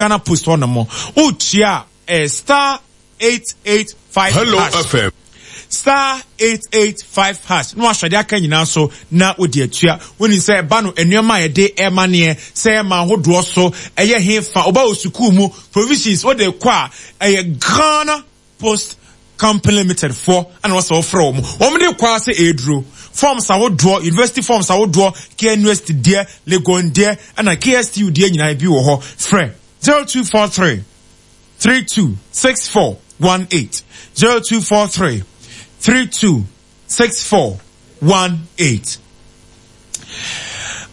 Ghana Post hɔ nom. Wotua a ɛyɛ star 885 Hello hash. FM. Star 885 hash na wahwɛ de aka nyinaa so na wode atua. Wonim sɛ ɛba no nneɛma a yɛde ɛma neɛ sɛ ɛma ahodoɔ so ɛyɛ hefa woba wɔ sukuu mu provisions wode kɔ a ɛyɛ Ghana Post Company Limited foɔ ɛna wɔsɛ wɔfrɛ wɔn. Wɔn de kɔ ara sɛ ɛreduro. Forms ahodoɔ, university forms ahodoɔ, KNUST deɛ, Legon deɛ, ɛna KSTU deɛ nyinaa bi wɔ hɔ. Frɛ 0243 32 64 18, 0243 32 6418.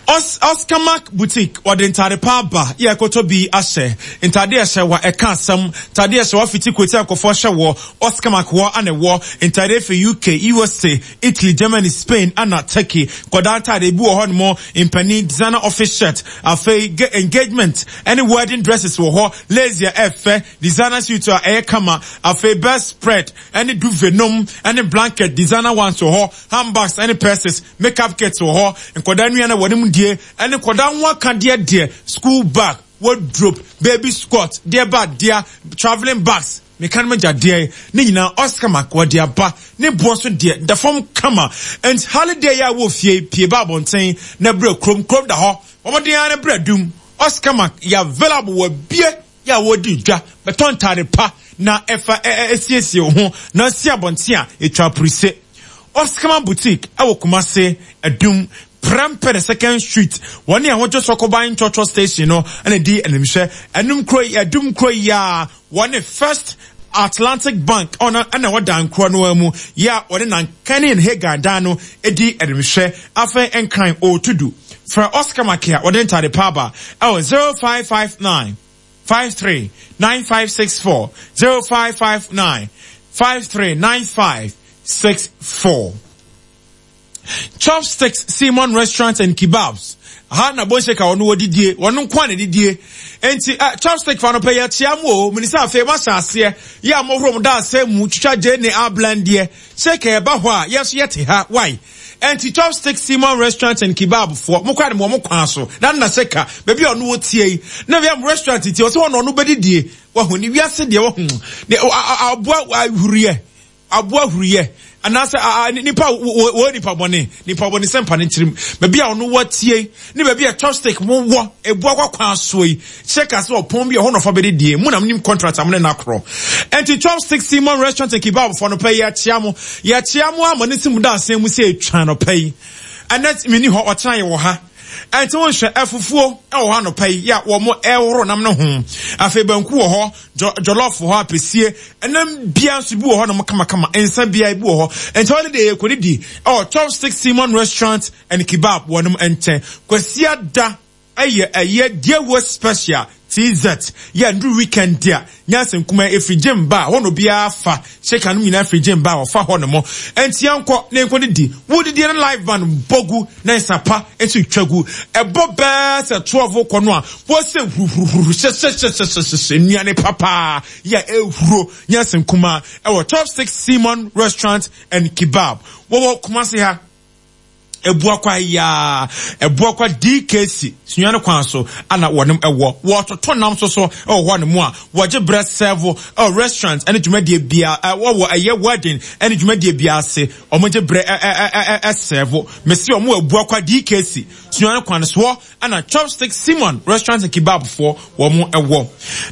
Os Oscarmac Boutique wɔde ntade pa aba yɛ ɛkɔtɔ bi ahyɛ. Ntade ɛhyɛ wa ɛka asɛm. Ntade ɛhyɛ wa fiti koti a nkɔfoɔ hyɛ wɔ Oscarmac hɔ ana ɛwɔ. Ntade efi UK, USA, Italy, Germany, Spain ana Turkey. Nkɔdaa ntade ebi wɔ hɔ nom, mpanin designer office shirt, afei engagement ɛne wedding dresses wɔ hɔ, lace a ɛfɛ, designer suit a ɛyɛ kama, afei bed spread ɛne duvet nom ɛne blanket designer ones wɔ hɔ, handbags ɛne purses, makeup kits wɔ hɔ, nkwadaa nnuane a wɔnom die ɛne nkwadaa ho akadeɛ deɛ, school bag, wardrobe, baby skirt, deɛ ba dea, travelling bags, meka no magya deɛ, ne nyinaa Oscar Mark wɔde aba, ne boɔ nso deɛ da fam kama. Ɛnti holiday yi a wɔ fie pie ba abɔnten na brɛ kurom, kurom da hɔ, bɔ mmɔden ara na brɛ dum, Oscar Mark yɛ available wɔ bie yɛ a wɔredi dwa, bɛtɔ ntade pa na ɛfa siesie wo ho na si abɔnten a ɛtwa apurise. Oskama Boutique wɔ Kumase, Adum, Prempeh the Second Street, wɔne Ahodwo Sɔkoban Trɔtrɔ Station no na ɛdi animhwɛ. Ɛnum kuro yi, Adum kuro yi ara, wɔne First Atlantic Bank ɔno na ɛwɔ dan korɔ no ara mu yɛ a wɔne Nankani and Hagan dan no di animhwɛ. Afei Nkran Otudu. Frɛ Oscar Make a wɔde ntade pa aba ɛwɔ 0559 53 9564, 0559 53 9564. Chopsticks Simon Restaurant and Kebabs. Ha na Bonsheka wɔn wɔdidie, wɔn nko a na didie. Enti eh, chopstick fa no pɛ yɛkyea mu o, mene sɛ afei moahyɛ aseɛ yɛ a mohoro mo da asɛ mu twitwa gye ne ablandeɛ. Sheka ɛba hɔ a yɛn nso yɛte ha, why? Enti Chopstick Simon Restaurant and Kebab foɔ, mo koraa de mo wɔ mo kwan so, na na Sheka, baabi a ɔno wɔ tie yi, na wia mo restaurant ti, ɔsɛ hɔ na ɔno bɛdidie. Wahu ne wiase deɛ wahu, ne aboa ahuriɛ. Aboa huruyɛ anaasɛ a nipa wɔ nipa bɔne nipa bɔne sɛ mpa ne tirim baabi a ɔno wɔ tie ne baabi a chopstick mo wɔ ebu akɔ kwan soɔ yi kyerɛ ka sɛ ɔpɔn bi a ɛhɔ nɔfa bɛde die mu na nim contract amene na akorɔ ɛnti chopstick Simon restaurant and kebab fɔ no pɛ yɛkyea mo yɛkyea mo ama ne si mu da asɛn mu sɛ etwa no pɛ yi ɛnɛ meni hɔ ɔkyena yɛ wɔ ha ɛnti wo nhwɛ afufuo ɛwɔ hɔ anɔpa yi yɛ a wɔn ɛhoro nam no ho afei banku wɔ hɔ Jollof wɔ hɔ, apɛsie, ɛnam bia nso bi wɔ hɔ nom kamakama, nsa bia bi wɔ hɔ. Nti holiday yɛ kɔdidi ɛwɔ Chopstick Simon Restaurant and Kebab wɔ nom nkyɛn. Kwasiada ɛyɛ ɛyɛ Deawuo Special TZ yɛ nduru weekend a nyansa nkuma ɛfiri gym ba hɔ na obiara fa shaker nom nyinaa firi gym ba wɔfa hɔ nom. Nti yɛnkɔ na yɛnkɔ didi. Wo didi no live band bɔ gu na nsa pa nso twa gu. Ɛbɔ bɛɛ sɛ 12 kɔ no a Wɔsɛ huruhuruhuru hyɛhyɛhyɛhyɛhyɛ nnuane papa yɛ ehuro nyɛ nkumaa ɛwɔ Chopstick Simon Restaurant and Kebab. Wɔwɔ Kumasi ha. Ebuakwa yaa Ebuakwa DKC sunyani kwan so ana wɔnom ɛwɔ. Wɔtoto nam so so ɛwɔ hɔ nom a wɔgye brɛ sɛvo ɛwɔ restaurant ɛne dwumadie bia ɛwɔ ɛyɛ wedding ɛne dwumadie bia ase wɔn gye brɛ ɛsɛvo. Mesi wɔn wɔ Ebuakwa DKC sunyani kwan soɔ. Ɛna Chopstick Simon Restaurant and Kebab foɔ wɔn wɔ.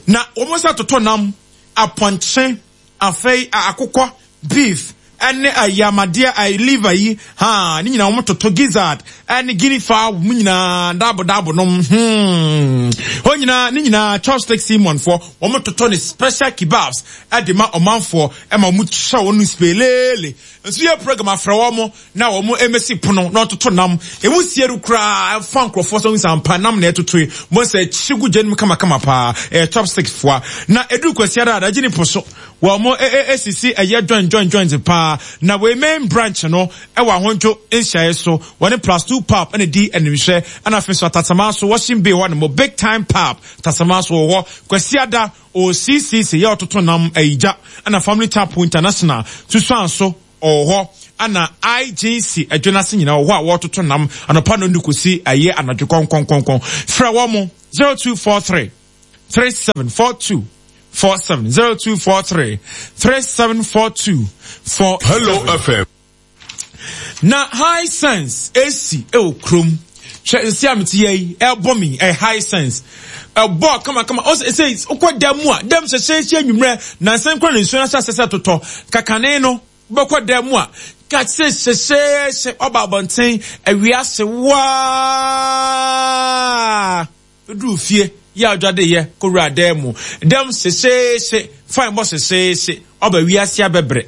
Na wɔn nsa totɔ nam, apɔnkye, afei akokɔ, beef, ɛne ayamadeɛ, ayi liver yi, ha, ne nyinaa wɔn toto gizzard, ɛne guinea fowl, wɔn nyinaa dabo dabo nom, hmm. Wɔn nyinaa, ne nyinaa Chopstick Simon foɔ, wɔn toto ne special kebabs ɛde ma ɔmanfoɔ, ɛma wɔn kyɛ wɔn speleele. Nso yɛ program afrɛ wɔn na wɔn mmɛsi pono na ɔtoto nam. Emu sie no koraa ɛfa nkurɔfoɔ sɛ nsa mpa nam na ɛtotoe. Mo sɛ kyi gu gya no mu kamakama paa. Ɛyɛ chopsticks foa. Na ɛduru Kwasiada a, adagye ne po so. Wɔn esisi ɛyɛ joint joint joint paa. Na wei main branch no ɛwɔ Ahodwo nhyiaeɛ so. Wɔne Plus Two Pub ɛna di animhwɛ. Ɛna afei nso Atasama so Washing Bay hɔ nom Big Time Pub Atasama so wɔ hɔ. Kwasiada OCCC yɛ ɔtoto nam ɛyi gya. Ɛna Family Chapel International Susuan so Ɔwɔ hɔ a na IGC adwa no ase nyinaa wɔ hɔ a wɔretoto nam anɔpa nnɔndu kɔsi ɛyɛ anadwo kɔnkɔnkɔnkɔn. Frɛ wɔn 0243. 3742 47 0243 3742 47. Hello FM. Na Hisense AC ɛwɔ kurom. Hwɛ nsi a mete yɛ yi ɛbɔ mi ɛyɛ Hisense. Ɛbɔ kamakama ɔsɛ sɛ wokɔ dan mu a dɛm hyɛhyɛhyɛ nwummerɛ nansa nkura ne nsuo no ahyɛ asɛ sɛ totɔ kakane no wobɛkɔ dan mu a kase hyɛhyɛhyɛ ɔba abɔnten awia hye waa. Duru fie, yɛ adwadeyɛ, kɔwura dan mu. Dɛm hyehyeehye, fine bɔ hyehyeehye, ɔba wiase abɛbrɛ.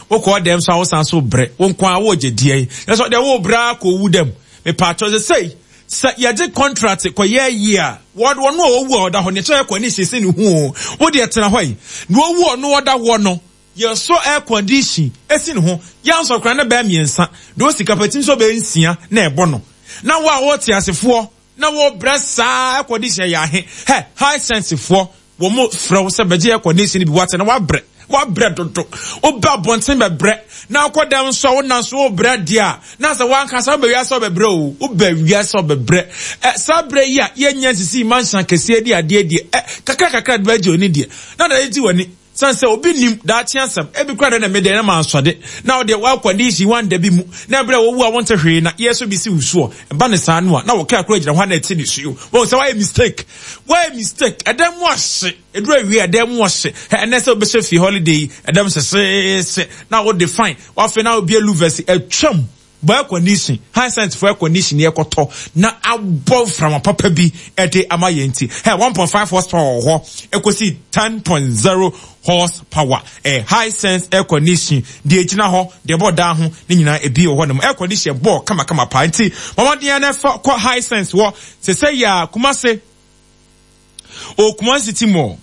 Wokɔ dɛm so a wosan so brɛ, wo nko ara wogye deɛn? Nanso deɛ wobrɛ ara kɔwu dɛm. Mepaakyɛw sesei sɛ yɛgye contract kɔyɛ ayie a, wɔn a ɔwu a ɔda hɔ no yɛkyerɛ kɔ ne siesie ne ho o. Wo deɛ tena hɔ yi, na owu ɔno ɔda hɔ no, yɛsɔ air condition esi ne ho, yɛansɔ koraa na bɛyɛ mmiɛnsa, deɛ ɔsi kapati nso bɛyɛ nsia na ɛbɔ no. Na wo a wote asefoɔ Na wɔ brɛ saa air condition yɛ ahe hɛ Hisense foɔ wɔn mo frɛ wo sɛ bɛgye air condition bi wate na wabrɛ wabrɛ dodo wobɛ abɔnten bɛbrɛ na akɔ dɛm nso a wona nso wobrɛ deɛ a na sɛ wankasa wobɛ wiase wobɛbrɛ o wobɛ wiase wobɛbrɛ ɛ saa brɛ yi a yɛnyɛ nsisi mansion kɛseɛ di adeɛ deɛ ɛ kakra kakra de bɛgye oni deɛ na na ɛgye w'ani Sane sɛ obi nnim daakye asɛm, ebi koraa deɛ na me deɛ na mansɔde, na wo deɛ w'akwandihyi wanda bi mu, na ɛberɛ a wowu a wonte hwee na yɛ so bi si wo soɔ. Ɛba no saa no a, na wo kra koraa gyina hɔ a na ɛte nisuo. Wahu sɛ woayɛ mistake. Woayɛ mistake. Ɛdan mu ahye. Ɛduru awie a, ɛdan mu ahye. Hɛ, ɛnnɛ sɛ wobɛhyɛ fie holiday yi, ɛdan mu hyehyeehye, na wode fine, wafei na wobie louvers, atwam. Bɔ air condition, Hisense fo air condition yɛ kɔtɔ na abɔ mframa papa bi de ama yɛn nti. Hɛ, 1.5 horsepower wɔ hɔ ekosi 10.0 horsepower. Eh, Hisense air condition deɛ egyina hɔ, deɛ ɛbɔ dan ho ne nyinaa ebi wɔ hɔ nom. Air condition bɔ kamakama paa nti, mɔmɔden na ɛfa kɔ Hisense wɔ sɛsɛ yɛ a Kumase. Ɔwɔ Kumasi City Mall,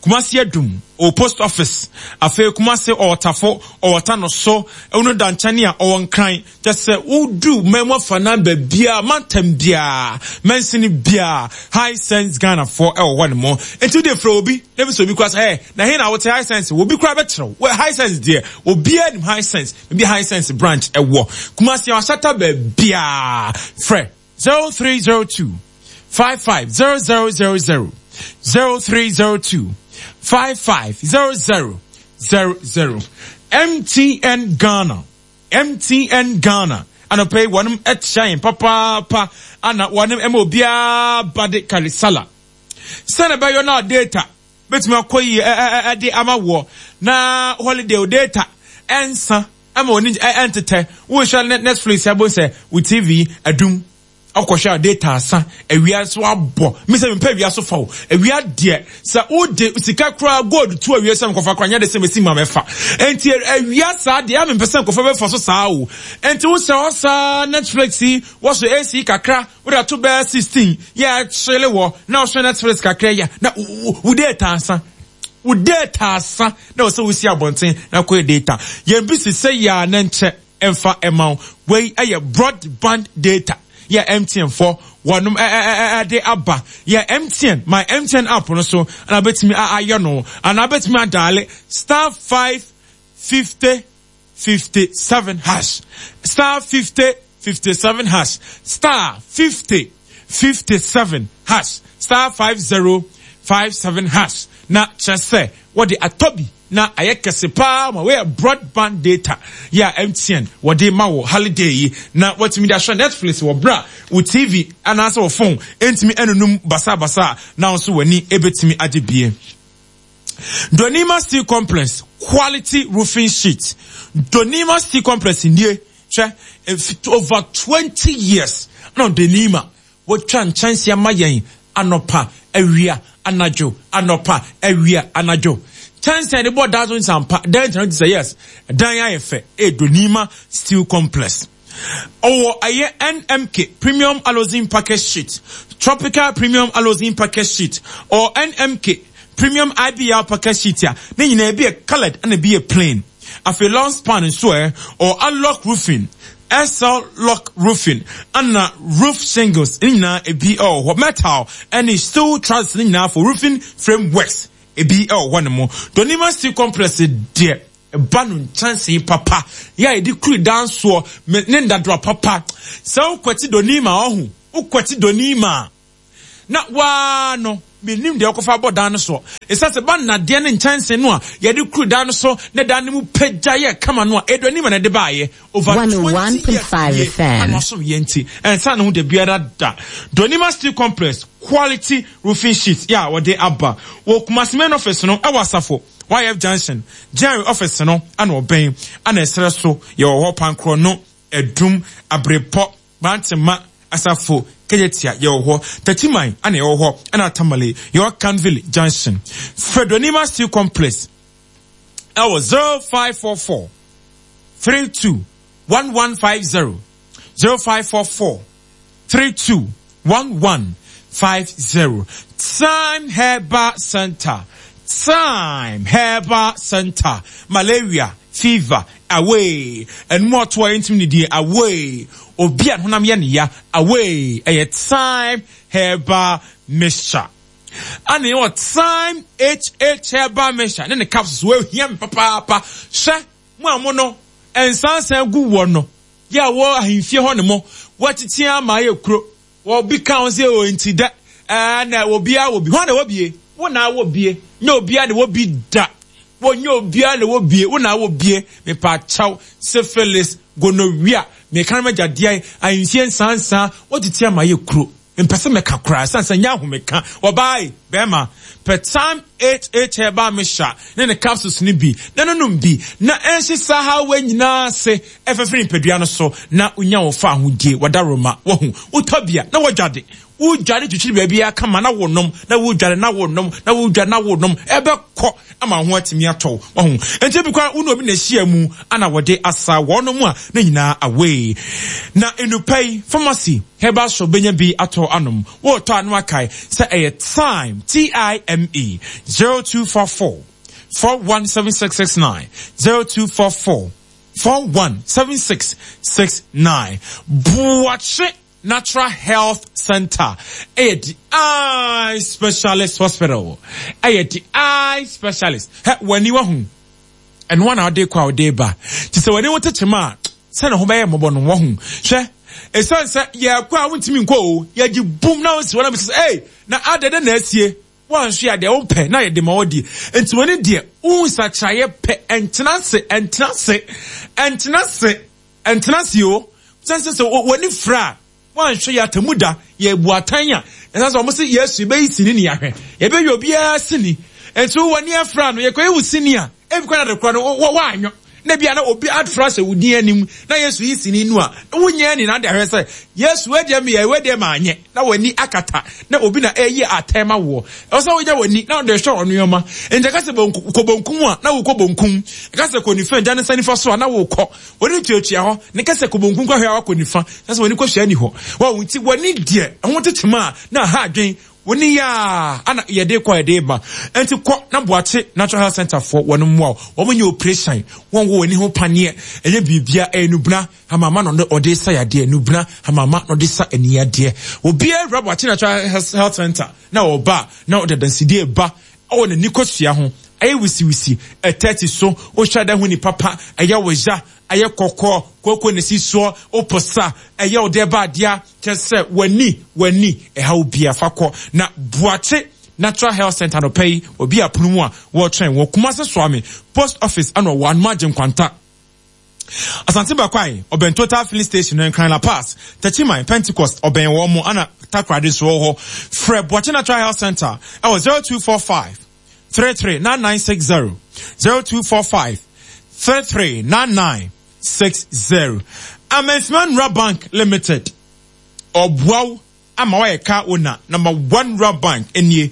Kumasi Adum, ɔwɔ Post Office, afei Kumasi ɔwɔ Tafo, ɔwɔ Tanoso, ɛwɔ no Dankyɛne a ɔwɔ Nkran. Kyɛ sɛ wodu man mu afanan baabiara, mantam biara, mansini biara, Hisense Ghanafoɔ ɛwɔ hɔ nom. Nti wode frɛ obi, na ebi sɛ obi koraa sɛ, ɛ, na he na wote Hisense? Obi koraa bɛkyerɛ wo. Hisense deɛ, obiara nim Hisense, baabi Hisense branch ɛwɔ. Kumasi Ahyata baabiara, frɛ. 0302 550000 0302 550000 MTN Ghana MTN Ghana anɔpa yi wɔnom kyia yɛn papaapa ana wɔnom ɛma obiara ba de karisala sɛnɛ bɛyɔ na data bɛtumi akɔ yi ɛde ama woɔ na holiday data ɛnsa Ɛma w'ani ntetɛ. Wohwɛ Netflix a, wobɛhu sɛ wo TV adum. Wokɔhwɛ a data asa. Awia nso abɔ. Me sɛ mempɛ awia so fa o. Awia deɛ, sɛ wode sika koraa gold to awia sɛ mekɔfa koraa nyɛ de sɛ mɛsi ma mɛfa. Enti awia saa deɛ, a mempɛ sɛ nkɔfa bɛfa so saa o. Enti wohyɛ hɔ saa Netflix yi, wɔsɔ AC kakra, wode ato bɛyɛ 16, yɛ ɛkyele wɔ, na wohwɛ Netflix kakra yi a, na wo data asa. Wo data asa na ɛwɔ sɛ wosi abɔnten na kɔyɛ data. Yɛn bi si sɛ yɛ a na nkyɛ ɛmfa ɛma wo. Wei ɛyɛ broadband data yɛ MTN fɔ wɔnom ɛde aba. Yɛ MTN my MTN app no so na wobɛtumi ayɛ no anaa wobɛtumi adaale star 550 57 hash star 50 57 hash star 50 57 hash star 50 57 hash na kyerɛ sɛ wɔde atɔ bi na ayɛ kɛse paa ma wɔyɛ broadband data yɛ a MTN wɔde ma wɔ holiday yi na wɔatumi de ahwɛ Netflix wɔ berɛ a wo TV anaasɛ wɔ phone ntumi ɛnunum basabasa na nso w'ani ebetumi agye bie. Donima Steel Complex quality roofing sheet. Donima Steel Complex nie hwɛ over 20 years na Donima wɔtwa nkyɛnse ama yɛn anɔpa awia anadwo anɔpa awia anadwo kyɛnse a yɛde bɔ dan so nsampa dan ntina ti sɛ yes dan ayɛ fɛ e Donima Steel Complex. Ɔwɔ ɛyɛ NMK Premium Alozin Package Sheet, Tropical Premium Alozin Package Sheet, or NMK Premium IBR Package Sheet a ne nyinaa ebi yɛ coloured ɛna ebi yɛ plain. Afei long span nso ɛ, ɔwɔ Unlock Roofing, SL Lock Roofing, ɛna roof shingles ne nyinaa ebi ɛwɔ hɔ. Metal ɛne steel trusses ne nyinaa for roofing frameworks ebi ɛwɔ hɔ nom. Donima Steel Complex deɛ Ba no nkyɛnsee papa yɛ a yɛde kuri dan soɔ ne nnadewa papa. Sɛ wokwati doni ma ɔho, wokwati doni ma. na waa no mennim deɛ wɔkɔfa bɔ dan no soɔ. Ɛsiane sɛ ba nnadeɛ ne nkyɛnse no a yɛde kuru dan no so na dan no mu pagya yɛ kama no a ɛdu anim na ɛde baeɛ over 20 years 101.5 nie FM. ana wasom yɛ nti ɛnsa ne ho da biara da. Donima Steel Complex quality roofing sheet yɛ a wɔde aba wɔ Kumasi main office no ɛwɔ Asafo YF Junction Jerry office no ana ɔbɛn ana ɛsrɛ so yɛwɔ hɔ Pankorɔ no Adum Abrepɔ Bantema Asafo Kejetia yɛwɔ hɔ Techiman ana yɛwɔ hɔ ɛna Tamale yɛwɔ Canville Junction Fredonima Steel Complex ɛwɔ 0544 32 1150 0544 32 1150 Time Herbal Center Time Herbal Center malaria fever away ɛnum ɔto a yɛntumi ne die away obi a ne honam yɛ ne ya away ɛyɛ Time Herbal Mixture ana yɛwɔ Time HH Herbal Mixture ne ne capsules wɔahia me papaapa hyɛ mo a mo no nsansan gu wɔ no yɛ a wɔ ahemfie hɔ ne mo wɔatete ama ayɛ kuro wɔbi ka ho sɛ o nti dɛ ɛɛ na obiara wɔ bi hɔn na wɔ bie wo na wɔ bie nyɛ obiara na wɔ bi da wɔnyɛ obiara na wɔ bie wo na wɔ bie mepa kyɛw syphilis gonorrhea meka no magyadeɛ ahemfie nsansan wɔtete ama ayɛ kuro mpɛ sɛ mɛka koraa ɛsiane sɛ nyɛ ahomeka wɔbaae bɛrima pɛ time hh herbal mixture ne ne capsules no bi na nonom bi na ɛnhye saa hawa nyinaa ase ɛfɛfɛ nipadua no so na wonya wo fa ahodie wɔdaroma wahu wotɔ bia na wɔdwade wodware twitwiri baabi akama na wonom na wodware na wonom na wodware na wonom ɛbɛkɔ ama ho atumi atɔ wahu nti bi kora wo ne obi na ahyia mu ana wɔde asa wɔn mu a ne nyinaa away na nnupa yi pharmacy herbal shop benya bi atɔ anom wɔretɔ ano akae sɛ ɛyɛ time t-i-m-e 0244 417669 0244 417669 Buakye Natural Health Center ɛyɛ the eye specialist hospital ɛyɛ the eye specialist hɛ w'ani wahu ɛno na ɔde kɔ a ɔde ba te sɛ w'ani ho tekyem a sɛ ne ho bɛyɛ mmɔbɔ no wahu hwɛ ɛsiane sɛ yɛkɔ a wontumi nkɔ o yɛgye bum na wonsi hɔ na bisa sɛ ei na adɛn dɛ na asie wanhwe a deɛ wompɛ na yɛde ma wɔdi nti w'ani deɛ wohu nsakyeraeɛ pɛ ɛntena ase ɛntena ase ɛntena ase ɛntena ase o sɛ sɛ sɛ w'ani fira a wanhwɛ yɛ atamu da yɛbu atan a ɛsɛ sɛ wɔn sɛ Yesu yɛbɛyi sini ne yɛahwɛ yɛbɛyɛ obiara sini nti w'ani afira no yɛkɔyɛ wo sini a ebi kwan ade korɔ no wɔ na bia na obi afra hyɛ wo din anim na Yesu yi sini no a wonyɛ ni na ade ahwɛ sɛ Yesu wedeɛ meyɛ wedeɛ maanyɛ na w'ani akata na obi na ɛyi atɛn ma woɔ ɛwɔ sɛ wonya w'ani na wode hwɛ wɔ nneɛma nti ɛka sɛ kɔ bonkum a na wokɔ bonkum ɛka sɛ kɔ nifa gya ne nsa nifa so a na wokɔ wɔne tuatua hɔ ne ka sɛ kɔ bonkum kɔhwɛ a wakɔ nifa na sɛ w'ani kɔhwɛ ani hɔ wɔ nti w'ani deɛ ɛho tekyema a na aha adwen woni ya ana yɛde kɔ yɛde ba nti kɔ na boakye natural health center foɔ wɔn mmoa wo wɔn nyɛ operation wɔn wɔ w'ani ho paneɛ ɛnyɛ biribia ɛyɛ nubena hamama na ɔde sa yadeɛ nubena hamama na ɔde sa ani yadeɛ obiara wura boakye natural health center na ɔba na ɔde adansidie ba ɛwɔ n'ani kɔsua ho ɛyɛ wisiwisi ɛtɛti so wohwɛ dɛ ho nipa pa ɛyɛ wɔya ɛyɛ kɔkɔɔ kooko ne si soɔ oposa ɛyɛ ɔde ba adeɛ kyɛ sɛ w'ani w'ani ɛha obi afa kɔ na boakye natural health center no pɛ yi obi apono mu a wɔretwɛn wɔ kumase soame post office ɛna ɔwɔ anoma agye nkwanta asante bakwae ɔbɛn total filling station no nkran la pass techiman pentecost ɔbɛn wɔn mo ana takoradi nso wɔ hɔ frɛ boakye natural health center ɛwɔ 0245 339960 0245 339960 Amensman Nura Bank Limited ɔboaw ama wayɛ car owner number one Nura Bank nie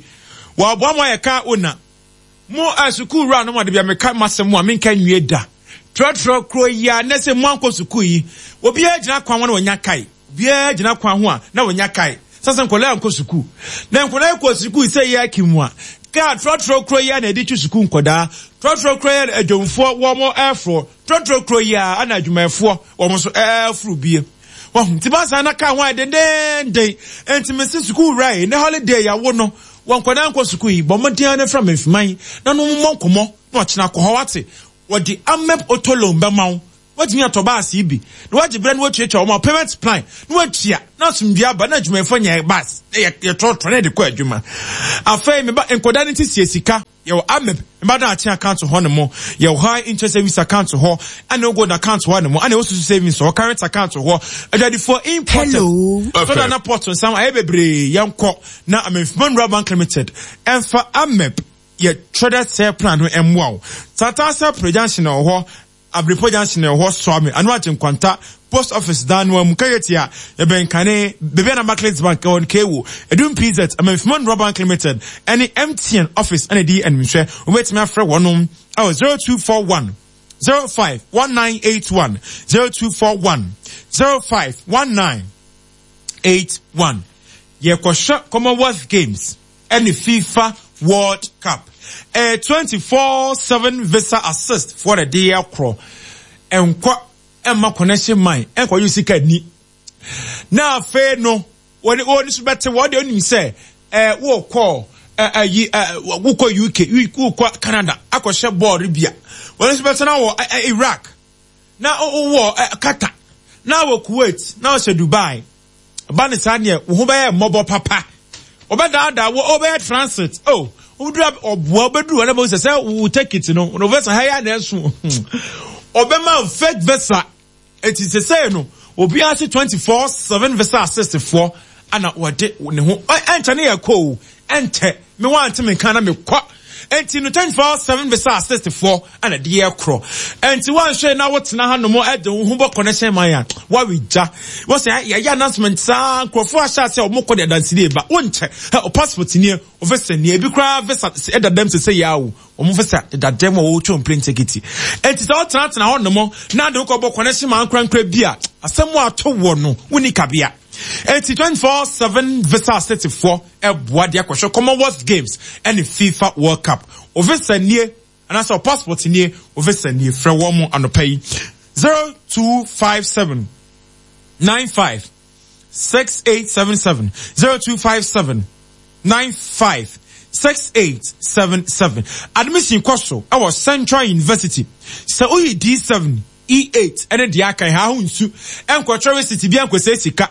wɔaboa ma wayɛ car owner mo a sukuu wura no ma de bia meka masɛm a menka nwie da trɔtrɔ kuro yi a na sɛ mo ankɔ sukuu yi obiara gyina kwan ho na wɔnya kae obiara gyina kwan ho a na wɔnya kae sɛ sɛ nkɔla ankɔ sukuu na nkɔla kɔ sukuu sɛ yɛ aki mu a kaa trɔtrɔ kuro yi a na ɛde twi sukuu nkɔdaa trɔtrɔ kuro yi a adwomfoɔ wɔn ɛforo trɔtrɔ kuro yi a ana adwumayɛfoɔ wɔn nso ɛforo bie wɔn nti baasa na kaa ho ayɛ dendenden nti mesi sukuu wura yi ne holiday yawo no wɔn nkɔdaa nkɔ sukuu yi bɔn mmɔden ne fra mmefiman na no mmɔ nkɔmɔ na ɔkyena kɔ hɔ wate wɔde amep otolon bɛma wo watumi atɔ baasi bi na wagye berɛ na watuatua wɔn payment plan na watua na na asomdwoe aba na adwumayɛfoɔ nya bus na yɛtrɔtrɔ na yɛde kɔ adwuma. Afei meba nkɔda no ti sie sika. Yɛwɔ Ameb mba daakye account hɔ nom, yɛwɔ High Interest Savings account hɔ, ɛna ɛwɔ Gold account hɔ nom, ɛna ɛwɔ Susu Savings hɔ, Current account hɔ, adwadifoɔ importers, sɔda na port nsam ayɛ bebree, yɛnkɔ na Amenfima Rural Bank Limited ɛmfa Ameb yɛ traded share plan no ɛmmoa wo. Tataase Pre Junction wɔ hɔ, Abirepɔ Junction wɔ hɔ, Soame, Ano Agye Nkwanta, Post Office dan no ara mu, Kayetia, yɛbɛn kane, baabi a na Barclays Bank wɔ no, Kewo, Adum PZ, Amanfima Nnura Bank Limited, ne MTN Office na ɛdi animhwɛ. Wobɛtumi afrɛ wɔnom wɔ 0241 05 1981, 0241 05 1981. Yɛkɔhwɛ Commonwealth Games. ɛne FIFA World Cup. Ɛyɛ 24/7 visa assist foɔ na ɛde yɛ korɔ. Ɛnkɔ ɛmma connection man ɛnkɔ yi sika ni. Na afei no wɔn wɔn so bɛte wɔn deɛ onim sɛ ɛɛ wɔkɔ ɛɛ ɛyi ɛɛ wokɔ UK wokɔ Canada akɔhyɛ bɔɔl bia wɔn nso bɛtena wɔ ɛɛ Iraq na wowɔ ɛɛ Qatar na wɔ Kuwait na wɔhyɛ Dubai. Ɛba ne saa neɛ wo ho bɛyɛ mmɔbɔ papa. Wɔbɛdaadaa wo, wobɛyɛ transit. Oh, wobɛduru ɔboa, wobɛduru hɔ na bɛhu sɛ sɛ wo ticket no, no visa ha yɛ na ɛso. Ɔbɛma wo fake visa. Eti sesei no, obiara se 24/7 visa assist foɔ ana wɔde ne ho. Ɛnkyɛ ne yɛ kɔ o, ɛnkyɛ. Me wante me nka na me kɔ. Enti no 24/7 visa assist foɔ ana de yɛ korɔ. Enti wanhwɛ na wotena ha nom de wo ho bɔ connection man a wawe gya. Wɔsɛ yɛyɛ announcement saa nkurɔfoɔ ahyɛ ase a wɔn kɔ de adansedie ba. Wonkyɛ hɛ o passport nie o visa nie ebi koraa visa ɛda dɛm sese yɛ awo wɔn visa deda dɛm a wɔretwa plane ticket. Enti sɛ wotenatena hɔ nom na de wokɔ bɔ connection man korankora bi a asɛm ato wɔ no wonni kabea. Enti 24/7 visa assist foɔ ɛboa de akɔhwɛ Commonwealth Games ɛne FIFA World Cup. O visa nie anaasɛ o passport nie, o visa nie. Frɛ wɔn mo anɔpa yi 0257 95 6877 0257 95 6877. Admission kɔ so ɛwɔ Central University. Sɛ woyi D7, E8 ɛne deɛ aka ha ho nsu ɛnkɔtwerɛ receipt bi ɛnkɔsɛ sika.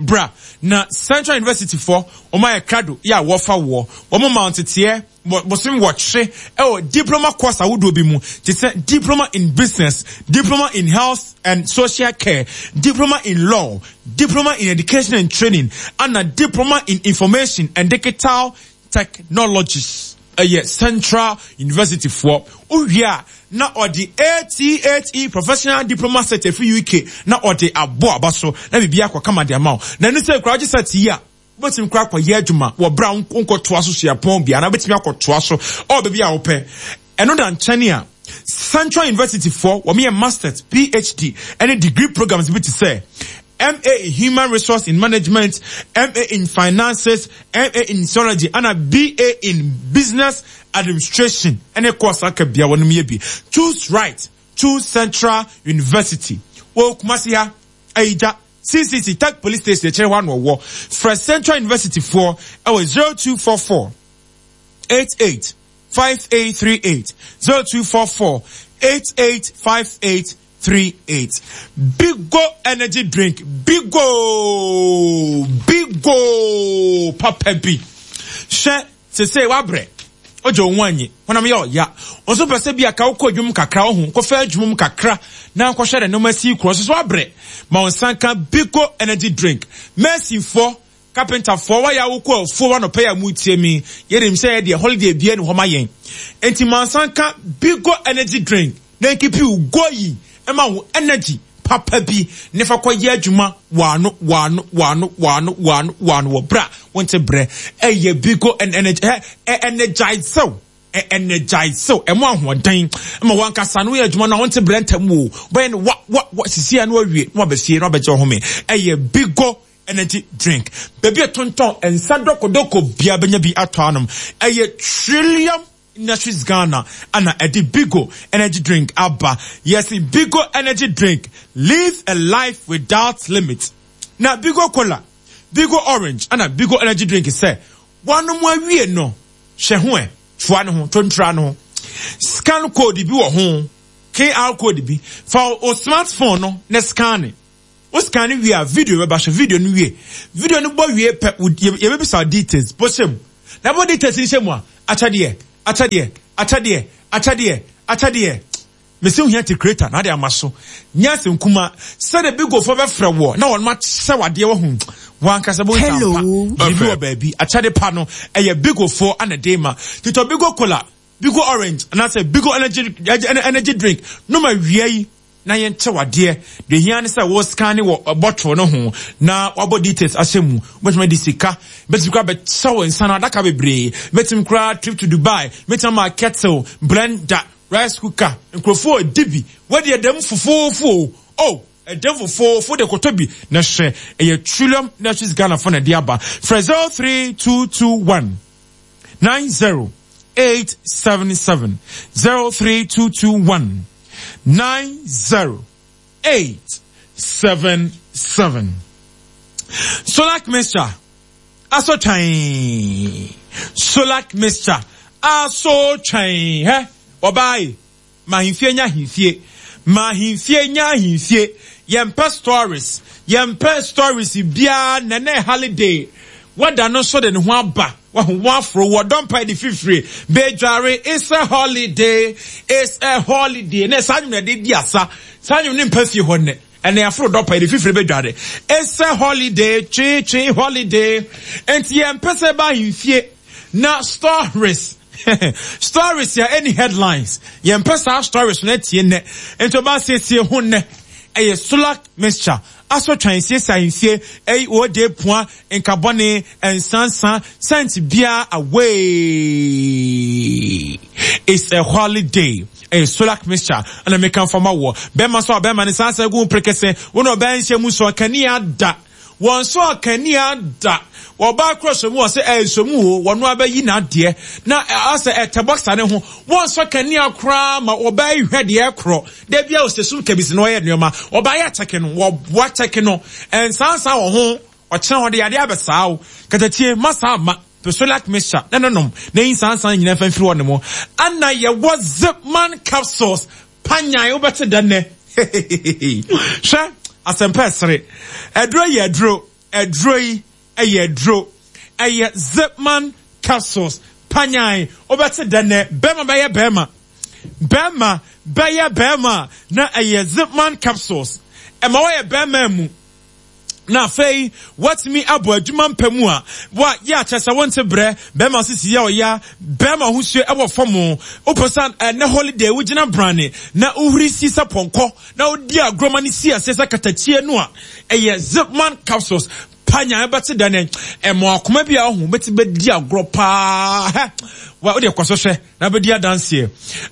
Bra na Central University foɔ wɔn ayɛ krado yɛ a wɔfa woɔ. Wɔn ma nteteɛ bosom wɔtwe ɛwɔ diploma course ahodoɔ bi mu te sɛ diploma in business, diploma in health and social care, diploma in law, diploma in education and training, ana diploma in information and digital Technologies yɛ Central University foɔ. Wowie a na ɔde ATHE Professional Diploma Cert afiri UK na ɔde abɔ aba so na biribi akɔ kama de ama wo. Na ɛno sɛ koraa wogye cert yi a, wobɛtumi koraa akɔyɛ adwuma wɔ berɛ a wonkɔtoa so suapɔn bi anaa wobɛtumi akɔtoa so ɔwɔ baabi a wopɛ. Ɛno da nkyɛn a, Central University foɔ wɔn yɛ Masters, PhD ɛne degree programs bi te sɛ MA in Human Resource in Management, MA in Finances, MA in Theology, ɛna BA in Business Administration ɛne course aka bia wɔnom yɛ bi. Choose right, choose Central University. Wɔ Kumasi ha, Ayigya, CCC, Tech Police Station akyire hɔ ano wɔ. Frɛ Central University foɔ ɛwɔ 0244 88 5838 0244 88 5838 Bigo energy drink Bigo Bigo papa bi hwɛ sese wabrɛ ogye wo ho anyi honam yɛ ɔya nso pɛ sɛ bi aka wokɔ adwuma kakra wo ho kɔfa adwuma mu kakra na nkɔhwɛ ne nneɛma si korɔ so so abrɛ ma wo nsa nka Bigo energy drink Mercyfoɔ Carpenterfoɔ wayɛ a wokɔ afuo anɔpa yi a moretie me yɛnim sɛ yɛ deɛ holiday biara ni hɔ ma yɛn enti mansa nka Bigo energy drink na nkipi wo going ɛma wo energy papa bi ne fa kɔ yɛ adwuma wano wano wano wano wano wano wɔ bra wonte brɛ ɛyɛ Bigo energy ɛ energize wo ɛ energize wo ɛmo ahoɔden ma wankasa no yɛ adwuma no a wonte brɛ ntɛm wo bɛyɛ no wa wa wa sisi ano awie na wabɛsie na wabɛgye ɔhome ɛyɛ Bigo energy drink. Baabi a tontɔn nsa dɔkɔdɔkɔ biara bɛnya bi atɔ anom. Ɛyɛ Trillium Industries Ghana ana ɛde Bigo energy drink aba. Yɛsi Bigo energy drink, live a life without limit. Na Bigo Cola, Bigo Orange ana Bigo energy drink sɛ wanom awie no, hwɛ ho ɛ, toa ne ho, tontra ne ho. Scan code bi wɔ ho, QR code bi. Fa wo smartphone no na scan. Wo scan no wie a, video bɛba. Hwɛ video no wie. Video no bɔ wie pɛ, yɛbɛbisa wo details. Bɔ hyɛ mu. Na bɔ details no hyɛ mu a, akyɛdeɛ, akyɛdeɛ, akyɛdeɛ, akyɛdeɛ, akyɛdeɛ. Mese wohia te creator na ade ama so. Nyɛ asɛm kuma. Sɛdeɛ bigofoɔ bɛfrɛ woɔ na wɔn akyɛ wo adeɛ wahu. Wankasa bɛhu sɛ ampa biribi wɔ baabi. Akyɛde pa no, ɛyɛ bigofoɔ ana de ma. Titɔ bigo cola, bigo orange, anaasɛ bigo energy, energy drink. Nom awia yi. na yɛnkyɛ wo adeɛ. Deɛ ehia ne sɛ wo scan wɔ bottle no ho na wabɔ details ahyɛ mu. Wobɛtumi adi sika, bɛtumi koraa bɛkyɛ wo nsa no adaka bebree, bɛtumi koraa trip to Dubai, bɛtumi ama kettle, blender, rice cooker. Nkurɔfoɔ redi bi. Wadi ɛdam fofoofo o. Oh, ɛdam fofoofo de kɔtɔ bi na hwɛ. Ɛyɛ Trillium Industries Ghana fo na ɛde aba. Frɛ 03221 90877 03221 90877. Solak mixture aso twan. Solak mixture aso twan. Hɛ, ɔbaa yi. Ma ahemfie nyɛ ahemfie. Ma ahemfie nyɛ ahemfie. Yɛmpɛ stories. Yɛmpɛ stories biara nnɛ na holiday. Wada no nso de ne ho aba. Wahu wɔn aforo wɔ dɔ mpae de fifire. Bedware it's a holiday. It's a holiday. Na saa nwom na ɛde di asa. Saa nwom ne mpa fie hɔ nnɛ. Ɛnna aforo dɔ pae de fifire bedware. It's a holiday. Twe twe holiday. Enti yɛmpɛ sɛ ɛba ahemfie na stories. Stories a ɛni headlines. Yɛmpɛ saa stories no atie nnɛ. Nti ɔbaa siesie ho nnɛ. Ɛyɛ Sulak mixture. Asɔ twan siesie ahemfie. Ɛyi ode pua nkabɔne nsansa scent biara away. It's a holiday. Ɛyɛ Sulak mixture. Ɛna meka mfa ma woɔ. Bɛrima so a bɛrima ne saa sɛ gu prekese. Wo na ɔbaa nhyɛ mu so kanea da. Wɔn nso akanea da. Ɔbaa koro sɔ mu ɔsɛ ɛɛ sɔ mu o, wɔn abɛyi n'adeɛ na asɛ ɛtɛ bɔksa ne ho. Wɔn nso akanea koraa ma ɔbaa yi hwɛ deɛ ɛkorɔ. Da bi a ɔsɛ sum kabisi na ɔyɛ nneɛma. Ɔbaa yɛ akyɛke no, wɔboa kyɛke no. Ɛnsansan wɔ ho, ɔkyena ɔde yadeɛ abɛsaa wo. Katakyie, ma saa mma. Pɛ Solac mixture na no nom na yi nsansan nyinaa fa mfiri hɔ nom. Ana yɛwɔ Zipman capsules Panyan wobɛte dɛ nnɛ. Hwɛ, asɛmpa ɛsere. Aduro yɛ aduro. Aduro yi ɛyɛ aduro. Ɛyɛ Zipman capsules. Panyan wobɛte dɛ nnɛ. Bɛrima bɛyɛ bɛrima. Bɛrima bɛyɛ bɛrima na ɛyɛ Zipman capsules. Ɛma wɔyɛ bɛrima mu. Na afei woatumi abɔ adwuma mpɛ mu a, wa yɛ akyɛ sɛ wonte brɛ, bɛrima sisi yɛ ɔya, bɛrima ahosuo ɛwɔ fam, wopɛ sɛ ɛnɛ holiday wogyina brane na wohuri si sɛ pɔnkɔ na wodi agorɔ ma no si aseɛ sɛ katakyie no a, ɛyɛ Zipman capsules pa nyan bɛte dɛ ne ɛmɔ akoma bi a ɔho bɛti bɛdi agorɔ paa hɛ wa wode kɔ so hwɛ na bɛdi adanseɛ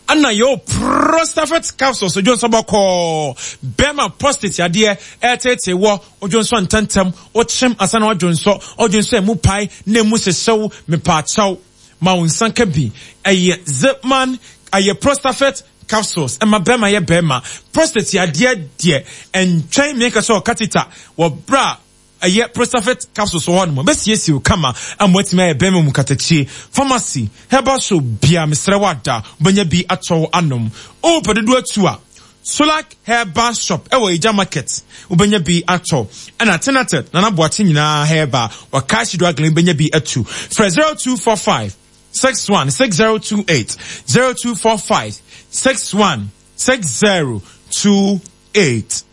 ɛna yɛwɔ prostafet capsules odwo nso bɔkɔɔ bɛrima prostate yadeɛ ɛtetee wɔ odwo nso ntɛntɛm wokyem asa na wadwo nso ɔdwo nso ɛmu pae na ɛmu hyehyew mepaakyɛw ma wo nsa ka bi ɛyɛ zipman ɛyɛ prostafet capsules ɛma bɛrima yɛ bɛrima prostate yadeɛ deɛ ɛntwɛn mmiɛnka sɛ ɔkatita wɔ berɛ a ɛyɛ Prostafet capsules wɔ hɔ nom. Ɛbɛsiesie wo kama ama woatumi ayɛ bɛrima mu katakyie. Pharmacy, herbal shop biara, mesrɛ wo ada, wobɛnya bi atɔ anom. Wopɛ dodoɔ atu a, Solac Herbal Shop ɛwɔ Egya Market, wobɛnya bi atɔ. Ɛna Tenatet, Nana Boakye nyinaa herbal, wɔ Kashi Drug Lane wobɛnya bi atu. Frɛ 0245 61 6028, 0245 61 6028.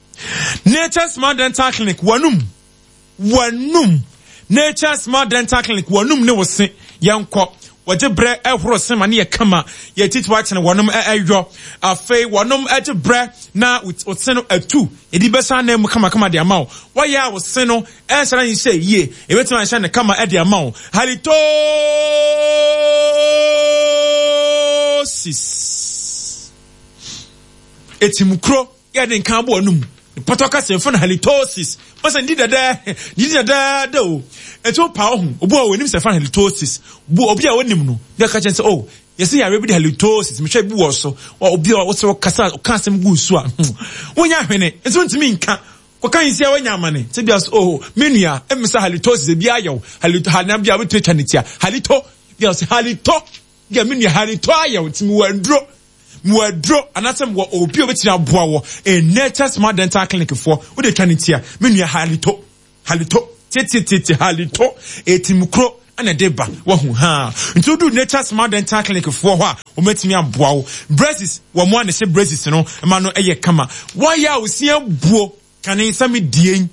Nature Smart Dental Clinic, w'anum, w'anum. Nature Smart Dental Clinic, w'anum ne wo se, yɛnkɔ. Wɔgye brɛ ɛhoro se ma ne yɛ kama. Yɛ titi akyene wɔnom ɛyɔ. Afei wɔnom ɛgye brɛ na wo se no atu. Yɛde bɛsa anan mu kamakama de ama wo. Wɔyɛ a wo se no ɛnhyɛ na nhyɛ yie. Yɛbɛtumi ahyɛ no kama ɛde ama wo. Halitosis. Etimkuro. Yɛ de nka abɔ anum. Pɔtɔ kasa yɛfrɛ no halitosis. Masa ndi dɛdɛ, ndi dɛdɛɛdɛ o. Eti wo pa ohu, obi wɔ onim sɛ yɛfrɛ no halitosis. Bu obi a onim no, bi aka kyerɛ sɛ oh, yɛsɛ yare bi de halitosis, mehwɛ bi wɔ so. Wɔ obi a wosɛ ɔkasa, ɔka asɛm gu so a, wonya hwene, nso ntumi nka. Kɔka nsia wanya amane. Sɛ bi so oh, me nua, mmisa halitosis ebi ayɛ wo. Halito, halina bi a wobɛtumi atwa ne tia. Halito, bi a ɔsɛ halito, bi a me nua halito ayɛ wo, ntumi wɔ nduro. Mewɔ aduro anaasɛ mewɔ obi a obetumi aboa wɔ Nature Smart Dental Clinic foɔ. Wode twa ne ti a, me nua halito, halito, titititi halito, etimukuro ɛna ɛde ba wahu haa. Nti wodu Nature Smart Dental Clinic foɔ hɔ a, wɔbɛtumi aboa wo. Braces, wɔn a na ɛhyɛ braces no ma no ɛyɛ kama. Wɔayɛ a osia buo, kane sɛ me die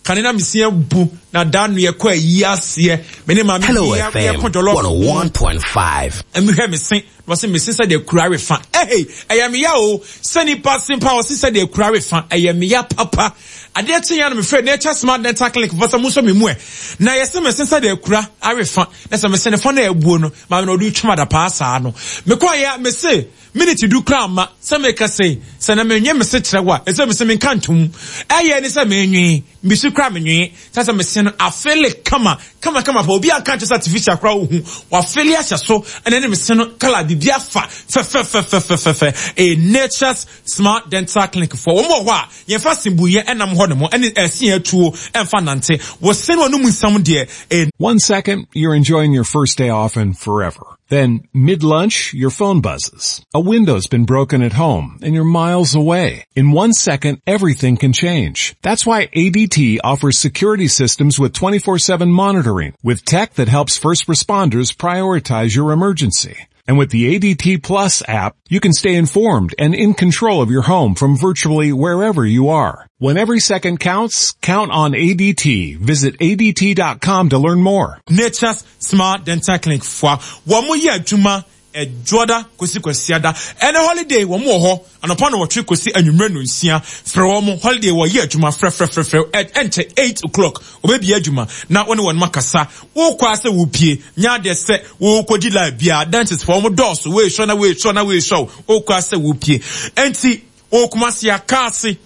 Kane na me abu na da no yɛkɔ ayi aseɛ me ne maame Hello bi FM yɛkɔ jɔlɔf 101.5. Mehwɛ me se na ɔse me se sɛdeɛ kura refa ɛhei ɛyɛ me ya o sɛ nipa se mpa ɔse sɛdeɛ kura refa ɛyɛ me ya papa adeɛ kye ya no mefrɛ Nature Smart Dental Clinic fɔ sɛ monsɔ me mu ɛ na yɛse me se sɛdeɛ kura arefa na sɛ me se ne fa na abuo no maame na ɔde twam adapaa saa no mekɔ yɛ me se minute du koraa mma sɛ meka sei sɛ na menwe me se kyerɛ wo a ɛsɛ me se menka ntom ɛyɛ ne sɛ menwe me se koraa menwe sɛ sɛ mese no afele kama kama kama pa obi anka nkyɛ sɛ artificial koraa wohu wafele ahyɛ so ɛna ne mese no kala biribi afa fɛfɛfɛfɛfɛfɛ a Nature's Smart Dental Clinic foɔ wɔn wɔ hɔ a yɛmfa sembuyɛ ɛnam hɔ nom ɛne ɛse atuo ɛmfa nante wɔse no anum nsɛm deɛ a One second, you're enjoying your first day off and forever. Then, mid-lunch, your phone buzzes. A window's been broken at home and you're miles away. In one second, everything can change. That's why ADT offers security systems with 24-7 monitoring, with tech that helps first responders prioritize your emergency. And with the ADT Plus app, you can stay informed and in control of your home from virtually wherever you are. When every second counts, count on ADT. Visit ADT.com to learn more. Nature's Smart Dental Clinic foɔ wɔn yɛ adwuma ɛdwoada kɔsi kwasiada ɛne holiday wɔn wɔ hɔ anɔpa na wɔtwe kɔsi anwummerɛ no nsia frɛ wɔn holiday wɔyɛ adwuma frɛfrɛfrɛfrɛ ɛnkyɛ 8 o'clock wɔbɛbie adwuma na wɔne wɔn akasa wokɔ asɛ wopie nyɛ adeɛ sɛ wokɔdi live biara dentist foɔ wɔn dɔɔso weesɔ na weesɔ na weesɔ wokɔ asɛ wopie ɛnti wɔkumase akaase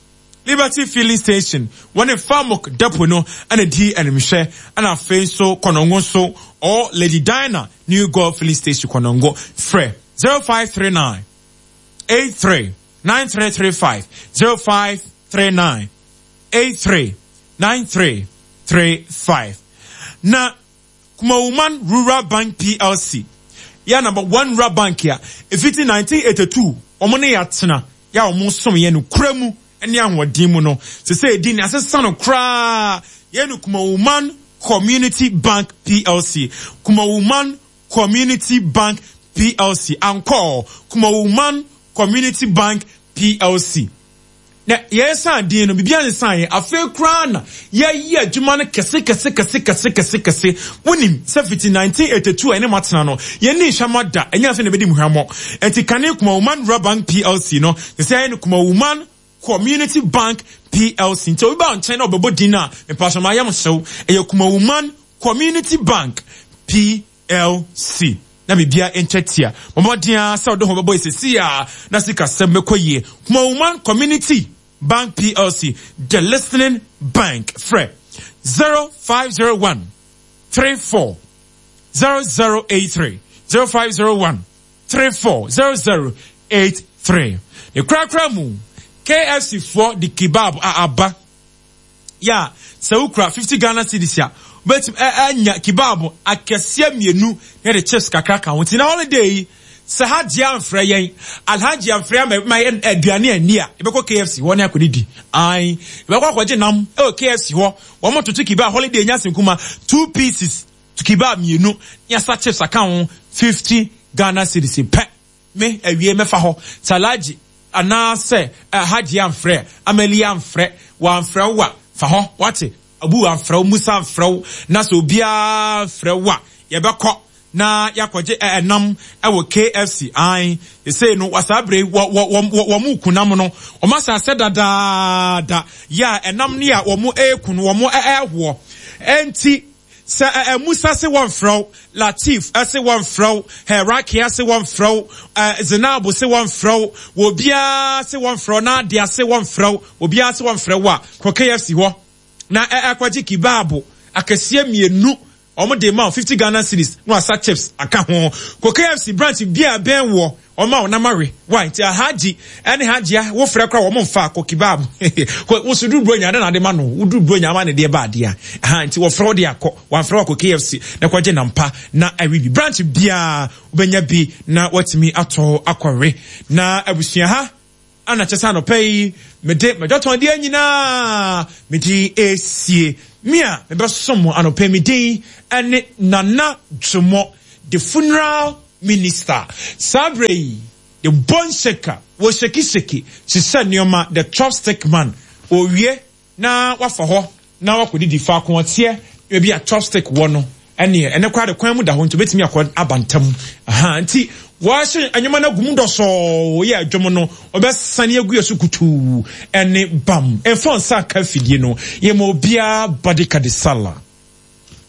Liberty Filling Station wɔne Famok Depot no ɛna di animhwɛ ɛna afei nso Kɔnɔngo nso or Lady Diana New Gold Filling Station Kɔnɔngo frɛ 0539 83 9335 0539 83 9335 na Kumawuman Rural Bank PLC yɛ number one rural bank a ɛfiti 1982 wɔn ne yɛatena yɛ a wɔn som yɛ no kura mu ne ahoɔden mu no sɛ sɛ ɛdi ne asesa no koraa yɛ no Kumawuman Community Bank PLC Kumawuman Community Bank PLC ankɔ Kumawuman Community Bank PLC na yɛsan din no biribi ansan yɛ afei koraa na yɛyɛ adwuma no kɛse kɛse kɛse kɛse kɛse kɛse wonim sɛ fiti 1982 a ɛne matena no yɛnni nhwɛmɔ da ɛnyɛ afei na ɛbɛdi mu hwammɔ ɛnti kane Kumawuman Rural Bank PLC no sɛ sɛ ɛyɛ no Kumawuman Community Bank PLC nti obi ba nkyɛn na ɔbɛbɔ din no a mepasɔ ma ayam hyew ɛyɛ Kumawuman Community Bank PLC na biribiara nkyɛ tia mmɔden a sɛ ɔde ho bɛbɔ esisi a na sikasɛm bɛkɔ yie Kumawuman Community Bank PLC the listening bank frɛ 0501 34 0083 0501 34 0083 ne korakora mu KFC foɔ de kebab a aba yɛ a sɛ wokura 50 Ghana cedis a wobɛtumi anya kebab akɛseɛ mmienu na de chips kakra ka ho nti na holiday yi sɛ hajji amfrɛ yɛn alhaji amfrɛ ama ma yɛn aduane anni a yɛbɛkɔ KFC hɔ ne akɔdidi ae yɛbɛkɔ akɔgye nam ɛwɔ KFC hɔ wɔn toto kebab holiday nya senkuma two pieces kebab mmienu ne asa chips aka ho 50 Ghana cedis pɛ me awie mɛfa hɔ sɛ alhaji anaasɛ hajji amfrɛ amali amfrɛ wɔamfrɛ wo a fa hɔ wate abu amfrɛ wo musa amfrɛ wo na sɛ obiara mfrɛ wo a yɛbɛkɔ na yɛakɔgye ɛnam ɛwɔ KFC an sɛ no wasaa bere wɔ wɔ wɔ wɔn mu kunam no wɔn asase dadaada yɛ a ɛnam ne a wɔn ɛreku no wɔn ɛɛhoɔ ɛnti sɛ ɛ Musa se wɔmfrɛ wo Latif se wɔmfrɛ wo Herakia se wɔmfrɛ wo Zenabu se wɔmfrɛ wo obiara se wɔmfrɛ wo Nadia se wɔmfrɛ wo obiara se wɔmfrɛ wo a kɔ KFC hɔ na ɛkɔgye kebab akɛseɛ mmienu. wɔn de ma wo 50 Ghana cedis na wasa chips aka ho. Kɔ KFC branch biara a ɛbɛn woɔ, wɔma wo nam awe. Why? Nti Alhaji ɛne Hajia wo frɛ koraa wɔn mfa kɔ kebab. Kɔ wo so duru Buronya adɛn na ade ma no? Wo duru Buronya ama ne deɛ ba adeɛ a. Aha nti wɔfrɛ wo de akɔ, wɔamfrɛ wo akɔ KFC na kɔgye nam pa na awe bi. Branch biara wobɛnya bi na watumi atɔ akɔwe. Na abusua ha Ana kyɛ sɛ anɔpa yi mede m'adwatɔndeɛ nyinaa mede resie. Me a mebɛsom mo anɔpa yi me din ne Nana Dwomo, the funeral minister. Saa berɛ yi, the bone shaker, wɔ shake shake, hyehyɛ nneɛma, the chopstick man, ɔrewie na wafa hɔ na wakɔdidi faako ɔteɛ baabi a chopstick wɔ no ɛneɛ ɛnɛ koraa de kwan mu da hɔ nti obɛtumi akɔ aba ntam aha nti wɔahyɛ nneɛma no agu mu dɔsɔɔ yɛ adwom no ɔbɛsane agu yɛ so kutuu ɛne bam ɛmfa nsa nka afidie no yɛma obiara badika de sala.